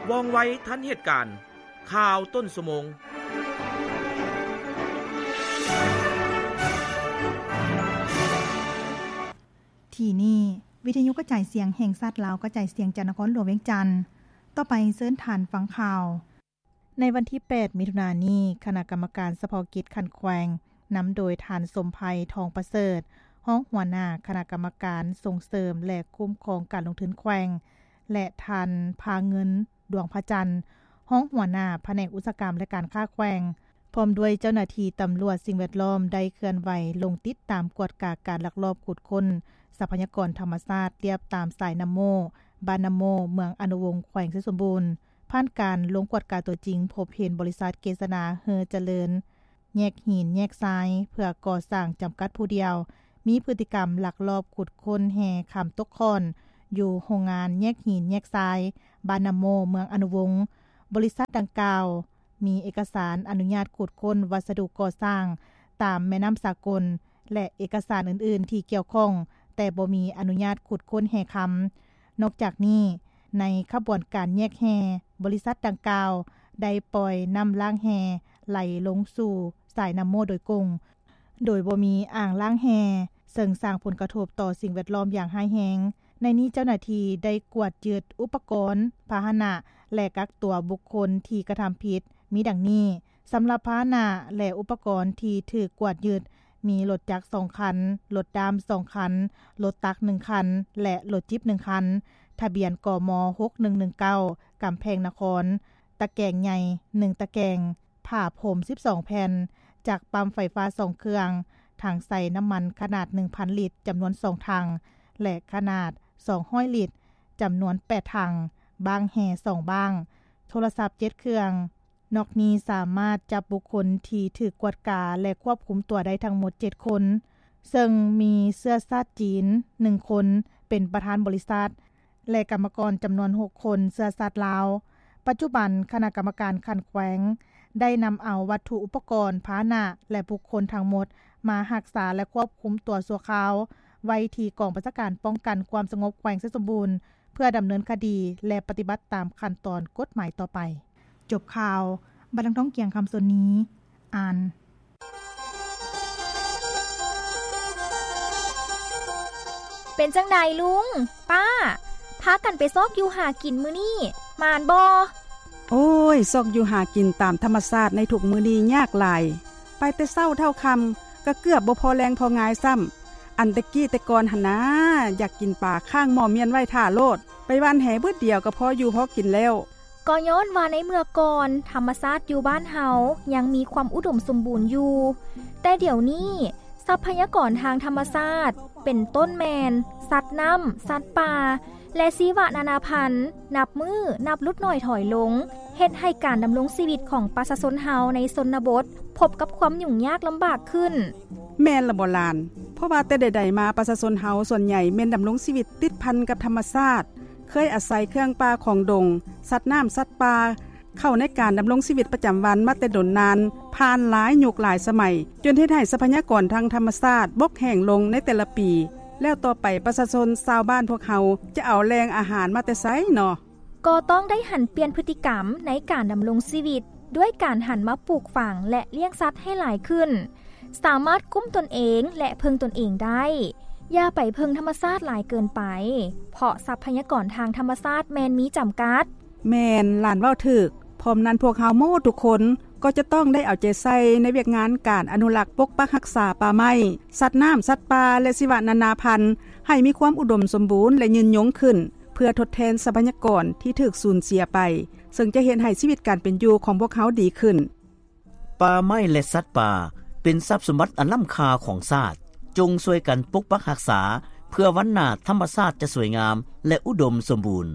ວ່ອງໄວທັນເຫດການ. ຂ່າວຕົ້ນຊົ່ວໂມງ. ທີ່ນີ້ ວິທະຍຸກະຈາຍສຽງແຫ່ງຊາດລາວ ກະຈາຍສຽງຈາກນະຄອນຫຼວງວຽງຈັນ. ຕໍ່ໄປເຊີນທ່ານຟັງຂ່າວ. ໃນວັນທີແປດ ມິຖຸນານີ້, ຄະນະກຳມະການສະເພາະກິດຂັ້ນແຂວງ ນຳໂດຍທ່ານ ສົມໄພ ທອງປະເສີດ ຮອງຫົວໜ້າຄະນະກຳມະການສົ່ງເສີມ ແລະ ຄຸ້ມຄອງການລົງທຶນແຂວງ ແລະ ທ່ານ ພາເງິນ ດວງພະຈັນ ຮອງຫົວໜ້າພະແນກອຸດສາຫະກຳ ແລະ ການຄ້າແຂວງ ພ້ອມດ້ວຍເຈົ້າໜ້າທີ່ຕຳຫຼວດສິ່ງແວດລ້ອມ ໄດ້ເຄື່ອນໄຫວລົງຕິດຕາມກວດກາການລັກລອບຂຸດຄົ້ນຊັບພະຍາກອນທຳມະຊາດລຽບຕາມສາຍນ້ຳໂມ້ ບ້ານນ້ຳໂມ້ ເມືອງອະນຸວົງ ແຂວງໄຊສົມບູນ. ຜ່ານການລົງກວດກາຕົວຈິງ, ພົບເຫັນບໍລິສັດເກສນາ ເຮີຈະເລີນ ແຍກຫີນແຍກຊາຍ ເພື່ອກໍ່ສ້າງຈຳກັດຜູ້ດຽວ ມີພຶດຕິກຳລັກລອບຂຸດຄົ້ນແຮ່ຄຳຕົກຂ້ອນ ຢູ່ໂຮງງານແຍກຫີນແຍກຊາຍ ບ້ານນ້ຳໂມ້ ເມືອງອະນຸວົງ. ບໍລິສັດດັ່ງກ່າວ ມີເອກະສານອະນຸຍາດຂຸດຄົ້ນວັດສະດຸກໍ່ສ້າງຕາມແມ່ນ້ຳສາກົນ ແລະ ເອກະສານອື່ນໆທີ່ກ່ຽວຂ້ອງ, ແຕ່ບໍ່ມີອະນຸຍາດຂຸດຄົ້ນແຮ່ຄຳ. ນອກຈາກນີ້, ໃນຂະບວນການແຍກແຮ່, ບໍລິສັດດັ່ງກ່າວໄດ້ປ່ອຍນ້ຳລ້າງແຮ່ໄຫຼລົງສູ່ສາຍນ້ຳໂມ້ໂດຍກົງ, ໂດຍບໍ່ມີອ່າງລ້າງແຮ່, ເຊິ່ງສ້າງຜົນກະທົບຕໍ່ສິ່ງແວດລ້ອມຢ່າງຮ້າຍແຮງ. ໃນນີ້ເຈົ້າໜ້າທີ່ໄດ້ກວດຍຶດອຸປະກອນ, ພາຫະນະ ແລະ ກັກຕົວບຸກຄົນທີ່ກະທຳຜິດ ມີດັ່ງນີ້. ສຳລັບພາຫະນະ ແລະ ອຸປະກອນທີ່ຖືກກວດຍຶດ ມີລົດຈັກສອງຄັນ, ລົດດ້າມສອງຄັນ, ລົດຕັກໜຶ່ງຄັນ ແລະ ລົດຈິບໜຶ່ງຄັນ, ທະບຽນ ກມ ຫົກໜຶ່ງໜຶ່ງເກົ້າ ກຳແພງນະຄອນ, ຕະແກງໃຫຍ່ໜຶ່ງຕະແກງ, ຜ້າພົມສິບສອງແຜ່ນ, ຈັກປ້ຳໄຟຟ້າສອງເຄື່ອງ, ຖັງໃສ່ນ້ຳມັນຂະໜາດໜຶ່ງພັນລິດ ຈຳນວນສອງຖັງ ແລະ ຂະໜາດສອງຮ້ອຍລິດ ຈຳນວນແປດຖັງ, ບ້າງແຮ່ສອງບ້າງ, ໂທລະສັບເຈັດເຄື່ອງ. ນອກນີ້ສາມາດຈັບບຸກຄົນທີ່ຖືກກວດກາ ແລະ ຄວບຄຸມຕົວໄດ້ທັງໝົດເຈັດຄົນ, ເຊິ່ງມີເຊື້ອຊາດຈີນໜຶ່ງຄົນ ເປັນປະທານບໍລິສັດ ແລະ ກຳມະກອນຈຳນວນຫົກຄົນເຊື້ອຊາດລາວ. ປັດຈຸບັນຄະນະກຳມະການຂັ້ນແຂວງໄດ້ນຳເອົາວັດຖຸອຸປະກອນ, ພາຫະນະ ແລະ ບຸກຄົນທັງໝົດມາຮັກສາ ແລະ ຄວບຄຸມຕົວຊົ່ວຄາວໄວ້ທີ່ກອງບັນຊາການປ້ອງກັນຄວາມສະຫງົບແຂວງໄຊສົມບູນ ເພື່ອດຳເນີນຄະດີ ແລະ ປະຕິບັດຕາມຂັ້ນຕອນກົດໝາຍຕໍ່ໄປ. ຈົບຂ່າວ. ບັດນາງ ທອງກຽງ ຄຳສົນນີ ອ່ານ. ເປັນຈັ່ງໃດລຸງ, ປ້າ, ພາກັນໄປຊອກຢູ່ຫາກິນມື້ນີ້ ໝານບໍ່? ໂອ້ຍ, ຊອກຢູ່ຫາກິນຕາມທຳມະຊາດໃນທຸກມື້ນີ້ຍາກຫຼາຍ. ໄປແຕ່ເຊົ້າເທົ່າຄ່ຳ ກະເກືອບບໍ່ພໍແລງພໍງາຍຊ້ຳ. ອັນແຕ່ກີ້ແຕ່ກ່ອນຫັ້ນນາ, ຢາກກິນປາຄ້າງໝໍ້ມ້ຽນໄວ້ຖ້າໂລດ, ໄປຫວ່ານແຫບຶດດຽວກະພໍຢູ່ພໍກິນແລ້ວ. ກໍຍ້ອນວ່າໃນເມື່ອກ່ອນ ທຳມະຊາດຢູ່ບ້ານເຮົາຍັງມີຄວາມອຸດົມສົມບູນຢູ່, ແຕ່ດຽວນີ້ ຊັບພະຍາກອນທາງທຳມະຊາດ ເປັນຕົ້ນແມ່ນສັດນ້ຳ, ສັດປ່າ ແລະ ຊີວະນານາພັນ ນັບມື້ນັບຫຼຸດໜ້ອຍຖອຍລົງ, ເຮັດໃຫ້ການດຳລົງຊີວິດຂອງປະຊາຊົນເຮົາໃນຊົນນະບົດ ພົບກັບຄວາມຫຍຸ້ງຍາກລຳບາກຂຶ້ນ. ແມ່ນລະບໍຫຼານ, ເພາະວ່າແຕ່ໃດໆມາ ປະຊາຊົນເຮົາສ່ວນໃຫຍ່ແມ່ນດຳລົງຊີວິດຕິດພັນກັບທຳມະຊາດ, ເຄີຍອາໄສເຄື່ອງປ່າຂອງດົງ, ສັດນ້ຳ, ສັດປ່າ ເຂົ້າໃນການດຳລົງຊີວິດປະຈຳວັນມາແຕ່ດົນນານ, ຜ່ານຫຼາຍຍຸກຫຼາຍສະໄໝ, ຈົນເຮັດໃຫ້ຊັບພະຍາກອນທາງທຳມະຊາດບົກແຫ້ງລົງໃນແຕ່ລະປີ, ແລ້ວຕໍ່ໄປປະຊາຊົນຊາວບ້ານພວກເຮົາຈະເອົາແຫຼ່ງອາຫານມາແຕ່ໃສເນາະ? ກໍຕ້ອງໄດ້ຫັນປ່ຽນພຶດຕິກຳໃນການດຳລົງຊີວິດ ດ້ວຍການຫັນມາປູກຝັງ ແລະ ລ້ຽງສັດໃຫ້ຫຼາຍຂຶ້ນ, ສາມາດກຸ້ມຕົນເອງ ແລະ ເພິ່ງຕົນເອງໄດ້. ຢ່າໄປເພິ່ງທຳມະຊາດຫຼາຍເກີນໄປ, ເພາະຊັບພະຍາກອນທາງທຳມະຊາດແມ່ນມີຈຳກັດ. ແມ່ນ, ຫຼານເວົ້າຖືກ. ພ້ອມນັ້ນ, ພວກເຮົາໝົດທຸກຄົນກໍຈະຕ້ອງໄດ້ເອົາໃຈໃສ່ໃນວຽກງານການອະນຸລັກປົກປັກຮັກສາປ່າໄມ້, ສັດນ້ຳ, ສັດປ່າ ແລະ ຊີວະນານາພັນ ໃຫ້ມີຄວາມອຸດົມສົມບູນ ແລະ ຍືນຍົງຂຶ້ນ, ເພື່ອທົດແທນຊັບພະຍາກອນທີ່ຖືກສູນເສຍໄປ, ເຊິ່ງຈະເຮັດໃຫ້ຊີວິດການເປັນຢູ່ຂອງພວກເຮົາດີຂຶ້ນ. ປ່າໄມ້ ແລະ ສັດປ່າ ເປັນຊັບສົມບັດອັນລ້ຳຄ່າຂອງຊາດ. ຈົ່ງຊ່ວຍກັນປົກປັກຮັກສາ ເພື່ອວັນໜ້າທຳມະຊາດຈະສວຍງາມ ແລະ ອຸດົມສົມບູນ.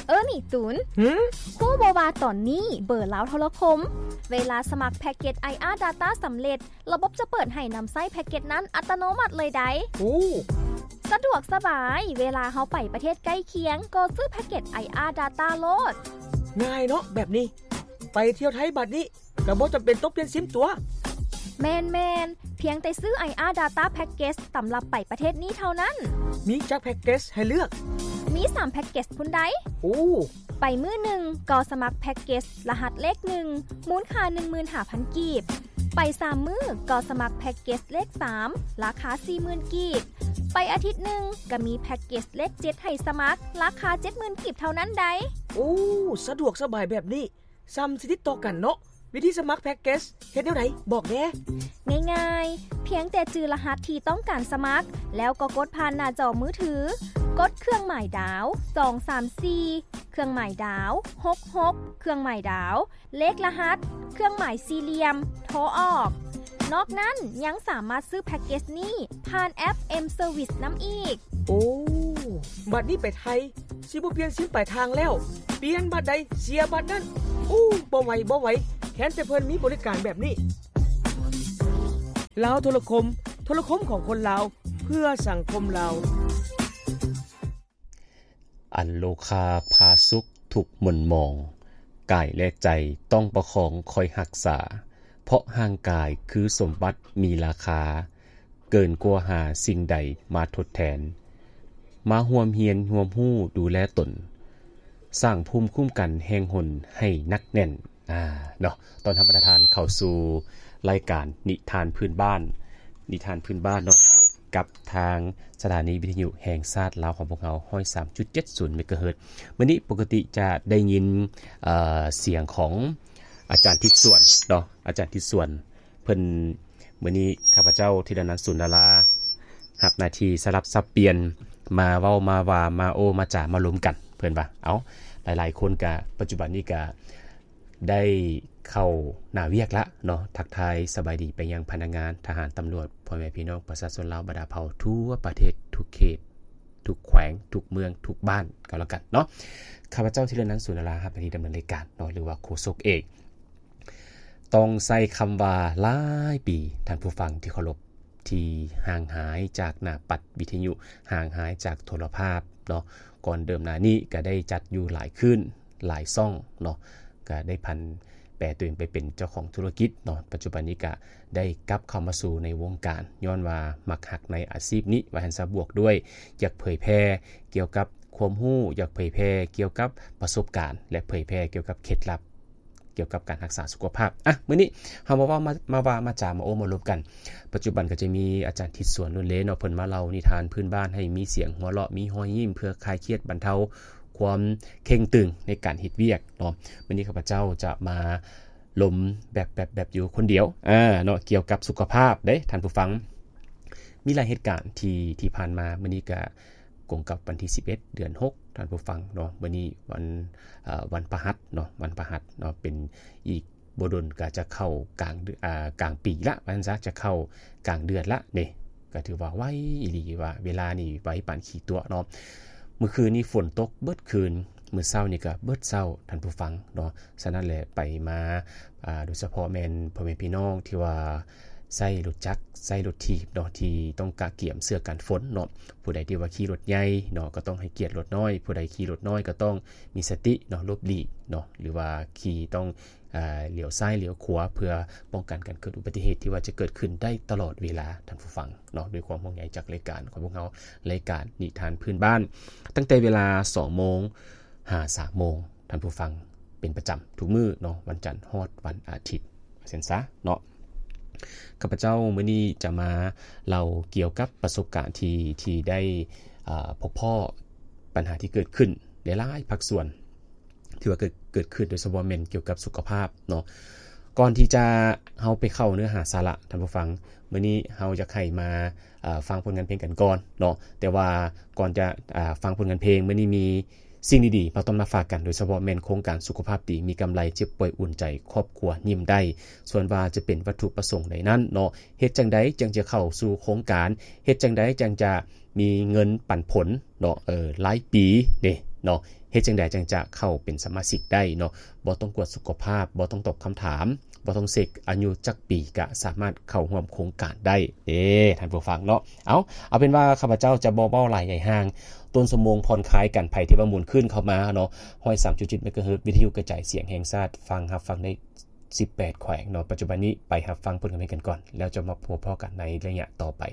ເອີ ນີ້ຕູນ, ຫື? ຮູ້ບໍ່ວ່າຕອນນີ້ເບີລາວໂທລະຄົມ ເວລາສະໝັກແພັກເກັດ ໄອອາ Data ສຳເລັດ, ລະບົບຈະເປີດໃຫ້ນຳໃຊ້ແພັກເກັດນັ້ນອັດຕະໂນມັດເລີຍໃດ໋. ໂອ້ ສະດວກສະບາຍ, ເວລາເຮົາໄປປະເທດໃກ້ຄຽງ ກໍຊື້ແພັກເກັດ ໄອອາ Data ໂລດ. ງ່າຍເນາະແບບນີ້. ໄປທ່ຽວໄທບາດນີ້ ກໍບໍ່ຈຳເປັນຕ້ອງປ່ຽນຊິມຕົວະ. ແມ່ນໆ ພຽງແຕ່ຊື້ ໄອອາ Data Package ສຳລັບໄປປະເທດນີ້ເທົ່ານັ້ນ. ມີຈັກແພັກເກັດໃຫ້ເລືອກ? ມີສາມແພັກເກັດພຸ້ນໃດ໋. ໂອ້ ໄປມື້ໜຶ່ງກໍສະໝັກແພັກເກັດລະຫັດເລກໜຶ່ງ ມູນຄ່າໜຶ່ງໝື່ນຫ້າພັນກີບ. ໄປສາມມື້ກໍສະໝັກແພັກເກັດເລກສາມ ລາຄາສີ່ໝື່ນກີບ. ໄປອາທິດໜຶ່ງກໍມີແພັກເກັດເລກເຈັດໃຫ້ສະໝັກ ລາຄາເຈັດໝື່ນກີບເທົ່ານັ້ນໃດ໋. ໂອ້ ສະດວກສະບາຍແບບນີ້ ສ່ຳຊິຕິດຕໍ່ກັນເນາະ. ວິທີສະໝັກແພັກເກັດເຮັດແນວໃດ? ບອກແດ່. ງ່າຍໆ ພຽງແຕ່ຈື່ລະຫັດທີ່ຕ້ອງການສະໝັກ ແລ້ວກໍກົດຜ່ານໜ້າຈໍມືຖື, ກົດເຄື່ອງໝາຍດາວ ສອງສາມສີ່ ເຄື່ອງໝາຍດາວ ຫົກຫົກ ເຄື່ອງໝາຍດາວ ເລກລະຫັດ ເຄື່ອງໝາຍສີ່ຫຼ່ຽມ ໂທອອກ. ນອກນັ້ນຍັງສາມາດຊື້ແພັກເກັດນີ້ຜ່ານແອັບ M Service ນຳອີກ. ໂອ້ ບັດນີ້ໄປໄທ ຊິບໍ່ປ່ຽນຊິມປາຍທາງແລ້ວ, ປ່ຽນບັດໃດເສຍບັດນັ້ນ. ໂອ້ ບໍ່ໄຫວ ບໍ່ໄຫວ, ແຄ້ນແຕ່ເພິ່ນມີບໍລິການແບບນີ້. ລາວໂທລະຄົມ, ໂທລະຄົມຂອງຄົນລາວ ເພື່ອສັງຄົມລາວ. ອັນໂລຄາພາສຸກທຸກໝົນໝອງ, ກາຍແລະໃຈຕ້ອງປະຄອງຄອຍຮັກສາ, ເພາະຮ່າງກາຍຄືສົມບັດມີລາຄາ, ເກີນກວ່າຫາສິ່ງໃດມາທົດແທນ. ມາຮ່ວມຮຽນຮ່ວມຮູ້ດູແລຕົນ, ສ້າງພູມຄຸ້ມກັນແຫ່ງຫົນໃຫ້ໜັກແໜ້ນ. ອາ ເນາະ, ຕ້ອນຮັບບັນດາທ່ານເຂົ້າສູ່ລາຍການນິທານພື້ນບ້ານ, ນິທານພື້ນບ້ານເນາະ, ກັບທາງສະຖານີວິທະຍຸແຫ່ງຊາດລາວຂອງພວກເຮົາ ຮ້ອຍສາມຈຸດເຈັດສູນເມກາເຮີດ. ມື້ນີ້ປົກກະຕິຈະໄດ້ຍິນ ເອີ ສຽງຂອງອາຈານທິດສວນເນາະ, ອາຈານທິດສວນ ເພິ່ນ ມື້ນີ້ຂ້າພະເຈົ້າ ທີລະນັນ ສູນດາລາ ຮັບໜ້າທີ່ສະຫຼັບສັບປ່ຽນ ມາເວົ້າມາວ່າ ມາໂອ້ມາຈາມາລົມກັນ ເພິ່ນວ່າ. ເອົ້າ ຫຼາຍໆຄົນກະ ປັດຈຸບັນນີ້ກະໄດ້ເຂົ້າໜ້າວຽກລະເນາະ, ທັກທາຍສະບາຍດີໄປຍັງພະນັກງານ, ທະຫານ, ຕຳຫຼວດ, ພໍ່ແມ່ພີ່ນ້ອງປະຊາຊົນລາວບັນດາເຜົ່າທົ່ວປະເທດ, ທຸກເຂດ, ທຸກແຂວງ, ທຸກເມືອງ, ທຸກບ້ານກໍແລ້ວກັນເນາະ. ຂ້າພະເຈົ້າ ທີລະນັນ ສູນດາລາ ຮັບໜ້າທີ່ດຳເນີນລາຍການເນາະ, ຫຼືວ່າໂຄສົກເອກ. ຕ້ອງໃຊ້ຄຳວ່າຫຼາຍປີ, ທ່ານຜູ້ຟັງທີ່ເຄົາລົບ, ທີ່ຫ່າງຫາຍຈາກໜ້າປັດວິທະຍຸ, ຫ່າງຫາຍຈາກໂທລະພາບເນາະ. ກ່ອນເດີມໜ້ານີ້ກໍໄດ້ຈັດຢູ່ຫຼາຍຄືນ, ຫຼາຍຊ່ອງເນາະ, ກໍໄດ້ຜັນແປຕົວເອງໄປເປັນເຈົ້າຂອງທຸລະກິດເນາະ. ປັດຈຸບັນນີ້ກໍໄດ້ກັບເຂົ້າມາສູ່ໃນວົງການ, ຍ້ອນວ່າມັກຮັກໃນອາຊີບນີ້ ວ່າຊັ້ນຊະ, ບວກດ້ວຍຢາກເຜີຍແຜ່ກ່ຽວກັບຄວາມຮູ້, ຢາກເຜີຍແຜ່ກ່ຽວກັບປະສົບການ ແລະ ເຜີຍແຜ່ກ່ຽວກັບເຄັດລັບ ກ່ຽວກັບການຮັກສາສຸຂະພາບ. ອ່ະ ມື້ນີ້ເຮົາມາເວົ້າ ມາ ມາວ່າມາຈາ ມາໂອ້ມາລົມກັນ. ປັດຈຸບັນກໍຈະມີອາຈານທິດສວນ ລຸນເລເນາະ, ເພິ່ນມາເລົ່ານິທານພື້ນບ້ານໃຫ້ມີສຽງຫົວເລາະ, ມີຮອຍຍິ້ມ ເພື່ອຄາຍຄຽດບັນເທົາຄວາມເຄັ່ງຕຶງໃນການເຮັດວຽກເນາະ. ມື້ນີ້ຂ້າພະເຈົ້າຈະມາລົມແບບ ແບບ ແບບຢູ່ຄົນດຽວ ອາ ເນາະ, ກ່ຽວກັບສຸຂະພາບເດ້ທ່ານຜູ້ຟັງ. ມີຫຼາຍເຫດການທີ່ ທີ່ຜ່ານມາ, ມື້ນີ້ກະກົງກັບວັນທີສິບເອັດ ເດືອນຫົກ ທ່ານຜູ້ຟັງເນາະ. ມື້ນີ້ວັນ ເອີ ວັນພະຫັດເນາະ, ວັນພະຫັດເນາະ, ເປັນອີກບໍ່ດົນກໍຈະເຂົ້າກາງເດືອນ ອາ ກາງປີລະ ວ່າຊັ້ນຊະ, ຈະເຂົ້າກາງເດືອນລະເດ້. ກໍຖືວ່າໄວອີ່ຫຼີ, ວ່າເວລານີ້ໄວປານຂີ້ຕົວະເນາະ. ມື້ຄືນນີ້ຝົນຕົກເບິດຄືນ, ມື້ເຊົ້ານີ້ກໍເບິດເຊົ້າ ທ່ານຜູ້ຟັງເນາະ. ສະນັ້ນແຫຼະ ໄປມາ ອາ ໂດຍສະເພາະແມ່ນພໍ່ແມ່ພີ່ນ້ອງທີ່ວ່າໃຊ້ລົດຈັກ ໃຊ້ລົດຖີບເນາະ, ທີ່ຕ້ອງກະກຽມເສື້ອກັນຝົນເນາະ. ຜູ້ໃດທີ່ວ່າຂີ່ລົດໃຫຍ່ເນາະ ກໍຕ້ອງໃຫ້ກຽດລົດນ້ອຍ, ຜູ້ໃດຂີ່ລົດນ້ອຍກໍຕ້ອງມີສະຕິເນາະ, ຫຼົບຫຼີກເນາະ, ຫຼືວ່າຂີ່ຕ້ອງ ອາ ຫຼຽວຊ້າຍຫຼຽວຂວາ ເພື່ອປ້ອງກັນການເກີດອຸບັດຕິເຫດທີ່ວ່າຈະເກີດຂຶ້ນໄດ້ຕະຫຼອດເວລາ ທ່ານຜູ້ຟັງເນາະ. ດ້ວຍຄວາມຫ່ວງໃຍຈາກລາຍການຂອງພວກເຮົາ, ລາຍການນິທານພື້ນບ້ານ, ຕັ້ງແຕ່ເວລາສອງໂມງຫາສາມໂມງ ທ່ານຜູ້ຟັງ, ເປັນປະຈຳທຸກມື້ເນາະ, ວັນຈັນຮອດວັນອາທິດ ວ່າຊັ້ນຊະເນາະ. ຂ້າພະເຈົ້າມື້ນີ້ຈະມາເລົ່າກ່ຽວກັບປະສົບການທີ່ ທີ່ໄດ້ ອາ ພົບພໍ້ບັນຫາທີ່ເກີດຂຶ້ນໃນຫຼາຍພາກສ່ວນ ທີ່ວ່າເກີດ ເກີດຂຶ້ນ, ໂດຍສະເພາະແມ່ນກ່ຽວກັບສຸຂະພາບເນາະ. ກ່ອນທີ່ຈະ ເຮົາໄປເຂົ້າເນື້ອຫາສາລະ, ທ່ານຜູ້ຟັງ, ມື້ນີ້ເຮົາຢາກໃຫ້ມາ ອາ ຟັງຜົນງານເພງກັນກ່ອນເນາະ. ແຕ່ວ່າກ່ອນຈະ ອາ ຟັງຜົນງານເພງ, ມື້ນີ້ມີສິ່ງດີໆມາຕ້ອນມາຝາກກັນ, ໂດຍສະເພາະແມ່ນໂຄງການສຸຂະພາບດີ, ມີກຳໄລເຈັບປ່ວຍອຸ່ນໃຈ, ຄອບຄົວຍິ້ມໄດ້. ສ່ວນວ່າຈະເປັນວັດຖຸປະສົງໃດນັ້ນເນາະ, ເຮັດຈັ່ງໃດຈັ່ງຈະເຂົ້າສູ່ໂຄງການ, ເຮັດຈັ່ງໃດຈັ່ງຈະມີເງິນປັນຜົນເນາະ, ເອີ ລາຍປີເດ້ເນາະ, ເຮັດຈັ່ງໃດຈັ່ງຈະເຂົ້າເປັນສະມາຊິກໄດ້ເນາະ, ບໍ່ຕ້ອງກວດສຸຂະພາບ, ບໍ່ຕ້ອງຕອບຄຳຖາມ ບໍ່ຕ້ອງເຊັກອາຍຸຈັກປີກະສາມາດເຂົ້າຮ່ວມໂຄງການໄດ້ເດ້ທ່ານຜູ້ຟັງເນາະ. ເອົາ ເອົາເປັນວ່າຂ້າພະເຈົ້າຈະບໍ່ເວົ້າຫຼາຍໃຫຍ່ຫ່າງ ຕົ້ນຊົ່ວໂມງຜ່ອນຄາຍກັນ ໃຜທີ່ວ່າໝູນຄື້ນເຂົ້າມາເນາະ ຮ້ອຍສາມຈຸດເຈັດເມກາເຮີດ ວິທະຍຸກະຈາຍສຽງແຫ່ງຊາດ ຟັງ ຮັບຟັງໃນສິບແປດແຂວງເນາະ. ປັດຈຸບັນນີ້ໄປຮັບຟັງຜົນຄຳເຫັນກັນກ່ອນ ແລ້ວຈະມາພົບພໍ້ກັນໃນໄລຍະຕໍ່ໄປ.